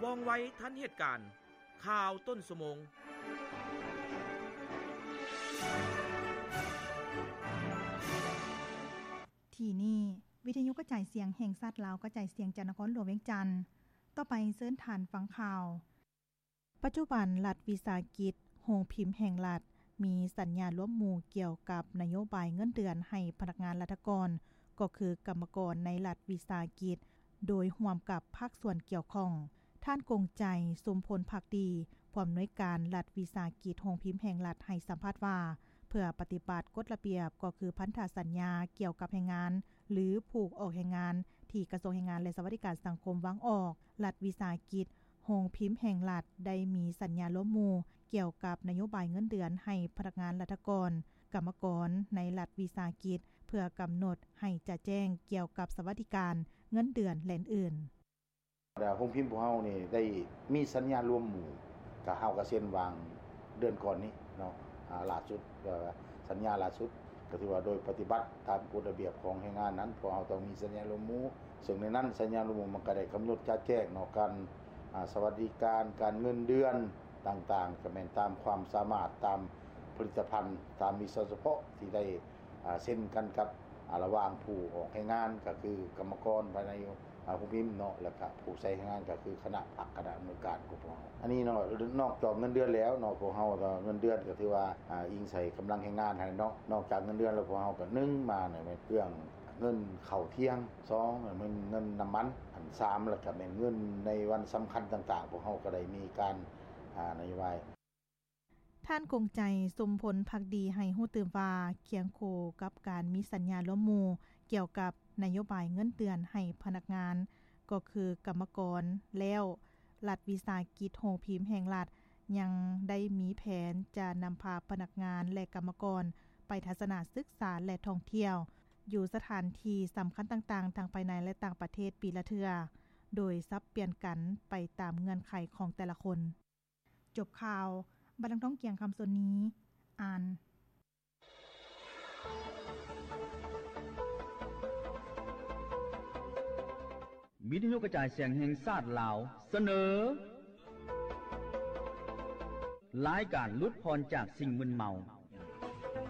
ວ່ອງໄວທັນເຫດການ. ຂ່າວຕົ້ນຊົ່ວໂມງ. ທີ່ນີ້ ວິທະຍຸກະຈາຍສຽງແຫ່ງຊາດລາວ ກະຈາຍສຽງຈາກນະຄອນຫຼວງວຽງຈັນ. ຕໍ່ໄປເຊີນທ່ານຟັງຂ່າວ. ປັດຈຸບັນລັດວິສາຫະກິດໂຮງພິມແຫ່ງລັດ ມີສັນຍາລວມໝູ່ກ່ຽວກັບນະໂຍບາຍເງິນເດືອນໃຫ້ພະນັກງານລັດຖະກອນ ກໍຄືກຳມະກອນໃນລັດວິສາຫະກິດ ໂດຍຮ່ວມກັບພາກສ່ວນກ່ຽວຂ້ອງ. ທ່ານ ກົງໄຈ ຊຸມພົນພັກດີ ຜູ້ອຳນວຍການລັດວິສາຫະກິດໂຮງພິມແຫ່ງລັດ ໃຫ້ສຳພາດວ່າ ເພື່ອປະຕິບັດກົດລະບຽບ ກໍຄືພັນທະສັນຍາກ່ຽວກັບແຮງງານ ຫຼື ຜູ້ອອກແຮງງານ ທີ່ກະຊວງແຮງງານ ແລະ ສະຫວັດດີການສັງຄົມວາງອອກ, ລັດວິສາຫະກິດ ໂຮງພິມແຫ່ງລັດໄດ້ມີສັນຍາລວມໝູ່ກ່ຽວກັບນະໂຍບາຍເງິນເດືອນໃຫ້ພະນັກງານລັດຖະກອນ, ກຳມະກອນໃນລັດວິສາຫະກິດ ເພື່ອກຳນົດໃຫ້ຈະແຈ້ງກ່ຽວກັບສະຫວັດດີການ, ເງິນເດືອນ ແລະ ອື່ນໆ. ແລ້ວໂຮງພິມພວກເຮົານີ້ໄດ້ມີສັນຍາລວມໝູ່ ກະເຮົາກະເຊັນຫວ່າງເດືອນກ່ອນນີ້ເນາະ ອາ ຫຼ້າສຸດ ເອີ ສັນຍາຫຼ້າສຸດ ກະຖືວ່າໂດຍປະຕິບັດຕາມກົດລະບຽບຂອງແຮງງານນັ້ນ ພວກເຮົາຕ້ອງມີສັນຍາລວມໝູ່ ເຊິ່ງໃນນັ້ນສັນຍາລວມໝູ່ມັນກະໄດ້ກຳນົດຈະແຈ້ງເນາະ ການ ອາ ສະຫວັດດີການ, ການເງິນເດືອນຕ່າງໆ ກະແມ່ນຕາມຄວາມສາມາດ ຕາມຜະລິດຕະພັນ, ຕາມວິຊາສະເພາະທີ່ໄດ້ ອາ ເຊັນກັນກັບ ອາ ລະຫວ່າງຜູ້ອອກແຮງງານ ກະຄືກຳມະກອນພາຍໃນ ອາ ໂຮງພິມເນາະ ແລ້ວກະຜູ້ໃຊ້ແຮງງານ ກະຄືຄະນະພັກ ຄະນະອຳນວຍການຂອງພວກເຮົາ. ອັນນີ້ເນາະ ນອກຈາກເງິນເດືອນແລ້ວເນາະ ພວກເຮົາ ເອີ ເງິນເດືອນກະຖືວ່າ ອາ ອີງໃສ່ກຳລັງແຮງງານຫັ້ນເນາະ. ນອກຈາກເງິນເດືອນແລ້ວ ພວກເຮົາກະ ໜຶ່ງ ມາໃນເລື່ອງເງິນເຂົ້າທ່ຽງ, ສອງ ແມ່ນເງິນນ້ຳມັນ, ອັນ ສາມ ແລ້ວກະແມ່ນເງິນໃນວັນສຳຄັນຕ່າງໆ ພວກເຮົາກະໄດ້ມີການ ອາ ນະໂຍບາຍ. ທ່ານ ກົງໄຈ ຊຸມພົນພັກດີ ໃຫ້ຮູ້ຕື່ມວ່າ ຄຽງຄູ່ກັບການມີສັນຍາລວມໝູ່ກ່ຽວກັບນະໂຍບາຍເງິນເດືອນໃຫ້ພະນັກງານ ກໍຄືກຳມະກອນແລ້ວ, ລັດວິສາຫະກິດໂຮງພິມແຫ່ງລັດ ຍັງໄດ້ມີແຜນຈະນຳພາພະນັກງານ ແລະ ກຳມະກອນໄປທັດສະນະສຶກສາ ແລະ ທ່ອງທ່ຽວ ຢູ່ສະຖານທີ່ສຳຄັນຕ່າງໆ ທັງພາຍໃນ ແລະ ຕ່າງປະເທດ ປີລະເທື່ອ ໂດຍສັບປ່ຽນກັນໄປຕາມເງື່ອນໄຂຂອງແຕ່ລະຄົນ. ຈົບຂ່າວ, ບັດນາງທອງກຽງ ຄຳສົນນີ ອ່ານ. ວິທະຍຸກະຈາຍສຽງແຫ່ງຊາດລາວ ສະເໜີ ລາຍການຫຼຸດຜ່ອນຈາກສິ່ງມຶນເມົາ.